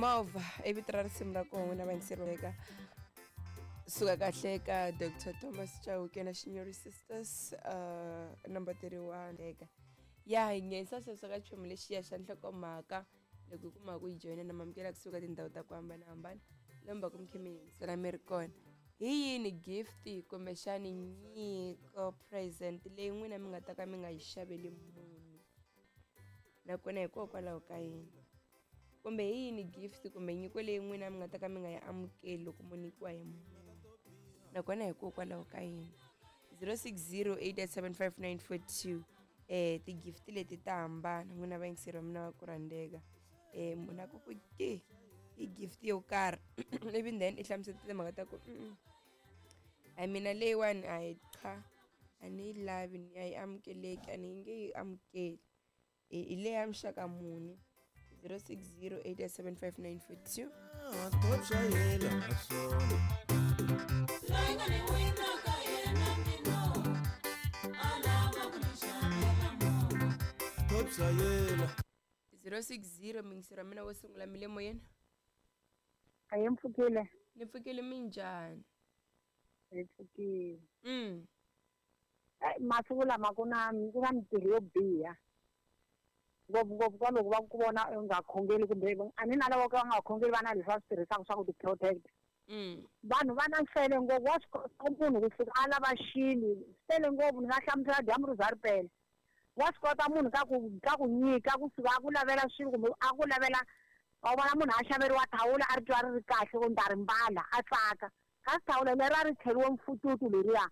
Movha i vito ra risimu ra kona n'wina vayingiseri eka suka kahle eka Dr Thomas Chauke na Shinyori Sisters, number 31 eka ya hi nghenisa sweswo ka chumu lexiya xa nhlokomhaka. Loko hi kuma ku yi joyina na mamukela kusuka tindhawu ta ku hambanahambana lomba ku mi khe mi yingisela mi ri kona. Hi yini gift kumbexani nyiko, present leyi n'wina mi nga ta ka mi nga yi xaveli munhu, nakona hikokwalaho ka yini? Kumbe hi yini gift kumbe nyiko leyi n'wina mi nga ta ka mi nga yi amukeli loko mo nyikiwa hi munhu, nakona hikokwalaho ka yini? 0608755942. Ti-gift leti ta hambana n'wina vayingiseri va mina va ku rhandzeka. Munhu a ku ku ke i gift yo karhi, ivi then i hlamusela timhaka ta ku a mina leyiwani a yi cha, a ni yi lavi, ni a yi amukeleki, a ni nge yi amukeli. Hi leya muxaka muni? 0608755942. 060 mingisero mina wo sungula mi le moyeni. A yi mpfukile. Ni pfukile, minjhani? Hi pfukile. Masiku lama ku na mintirho yo biha ngopfungopfu ka loko va ku vona u nga khongeli, kumbe a ni na lava ka va nga khongeli va na leswi va swi tirhisaka swa ku ti-protect. Vanhu va na nsele ngopfu, wa swi kota munhu kusuka a lava xilo sele ngopfu. Ni nga hlamusela dyambu ri za ri pela. Wa swi kota munhu ka ku nyika kusuka a ku lavela swilo, kumbe a ku lavela, wa vona munhu a xaveriwa thawula a ri twa ri ri kahle ku ni ta ri mbala a tsaka, kasi thawula leri a ri cheriwe mfututu leriya.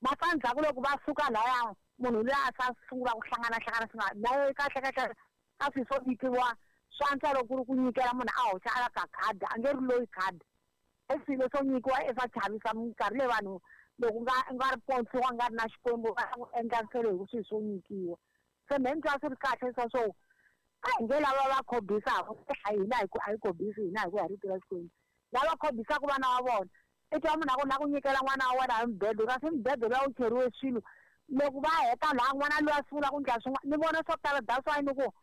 Matsandzhaku loko va suka laya, munhu luya a sa sungula ku hlanganahlangana swi nga na kahle kahle ka swilo swo nyikiwa swa antswa loko ku ri ku nyikela munhu a hoxa a ka khadi, a nge ri loyi khadi. I swilo swo nyikiwa i swa chavisa minkarhi leyi vanhu loko nga ri pontsiwa nga ri na Xikwembu va ku endla nsele hi ku swilo swo nyikiwa. Se mehe ni twa swi ri kahle swa swo a hi nge lava va khobisaka, a hina a hi khobisi hina hi ku ya hi rito ra Xikwembu. Lava khobisaka vana va vona, i twa munhu a ku na ku nyikela n'wana wa wena hi mubedo, kasi mubedo luya wu cheriwe swilo. Loko va heta laha n'wana luya sungula ku endla swin'wana, ni vona swo tala. That's why ni ku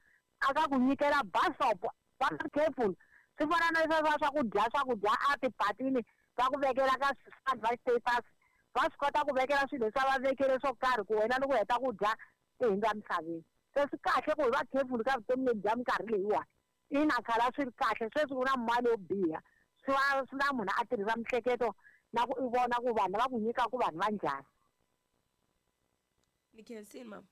a ka ku nyikela basop va careful. Swi fana na leswiya swa swakudya, swakudya a tipatini va ku vekela ka va status, va swi kota ku vekela swilo leswi va vekele swo karhi ku wena loko u heta ku dya i hundza misaveni. Se swi kahle ku hi va careful ka vutomi lebyi bya minkarhi leyiwani. Ina khale a swi ri kahle, sweswi ku na mali yo biha, swi va swi na munhu a tirhisa miehleketo na ku i vona ku vanhu lava ku nyikaka vanhu va njhani. Ni khensile mama.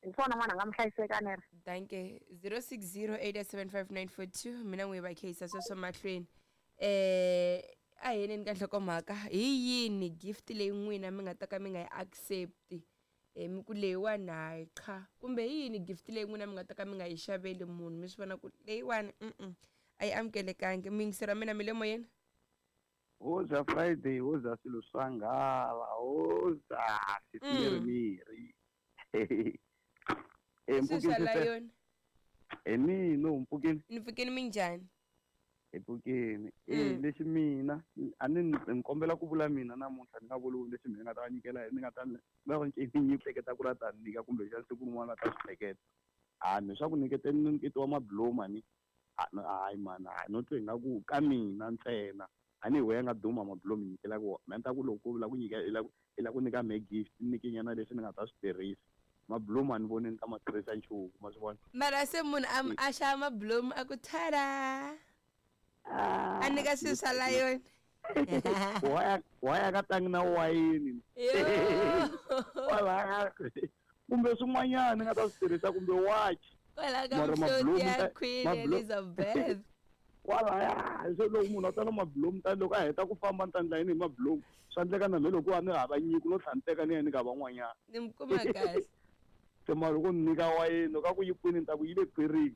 Hi swona n'wana nga mi hlayiseka nere. Danke. 0608755942 mina n'wi va kheyisa sweswo mahlweni. A hi yeneni ka nhlokomhaka. Hi yini gift leyi n'wina mi nga ta ka mi nga yi accept? Mi ku leyiwani hayi cha, kumbe hi yini gift leyi n'wina mi nga ta ka mi nga yi xaveli munhu mi swi vona ku leyiwani a yi amukelekangi? Muyingiseri wa mina mi le moyeni. Hoza Friday, hoza swilo swa nghala, hoza swimirhi. Swilo swa layoni. Hi mina mpfukeni. Ni pfukeni, minjhani? Hi pfukeni. Lexi mina a ni ni kombela ku vula mina namuntlha, ni nga vuli lexi mina nga ta va nyikela, ni nga ta va ni hleketa ku ra ta nyika kumbe xa siku rin'wana ta swi hleketa. A ni swa ku nyiketeni ni nyiketiwa mabloma ni hayi mani, hayi no twa ingaku ka mina ntsena. A ni hi wehe nga duma mabloma nyikelaka wona. Mina ni ta ku loko u la ku nyika i la ku nyika me gift, ni nyike nyana leswi ni nga ta swi tirhisa. Mabloma ni voni ni ta ma tirhisa nchumu, ma swi vona. Mara se munhu a xava mabloma a ku tada, a nyika swilo swa layoni. Waya ka tlangi na wayini. Kumbe swin'wanyana ni nga ta swi tirhisa, kumbe watch. Kwala ka mihloti ya Queen Elizabeth. Kwalaya se loko munhu a ta na mablom, ta loko a heta ku famba ni ta endla yini hi mablom? Swa endleka na me loko a ni hava nyiko no tlhela ni teka ni ya nyika van'wanyana. Ni mi kuma kahle. Se mara loko ni nyika wayeni, loko a ku yi kwini ni ta ku yi le khwirini.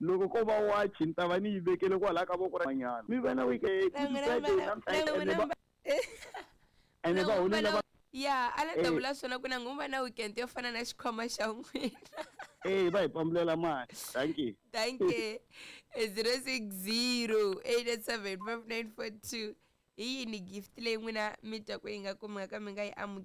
Loko ko va wachi ni ta va ni yi vekele kwalaya ka voko ra n'wanyana. Mi va na weekend, ene va holela va ya a la ta vula swona ku na nguva na weekend yo fana na xikhwama xa n'wina. Va hi pambulela mali. Thank you. Thank you. 0608875942. Hi yini gift leyi n'wina mi twa ku yi nga kumeka mi nga yi amukeli?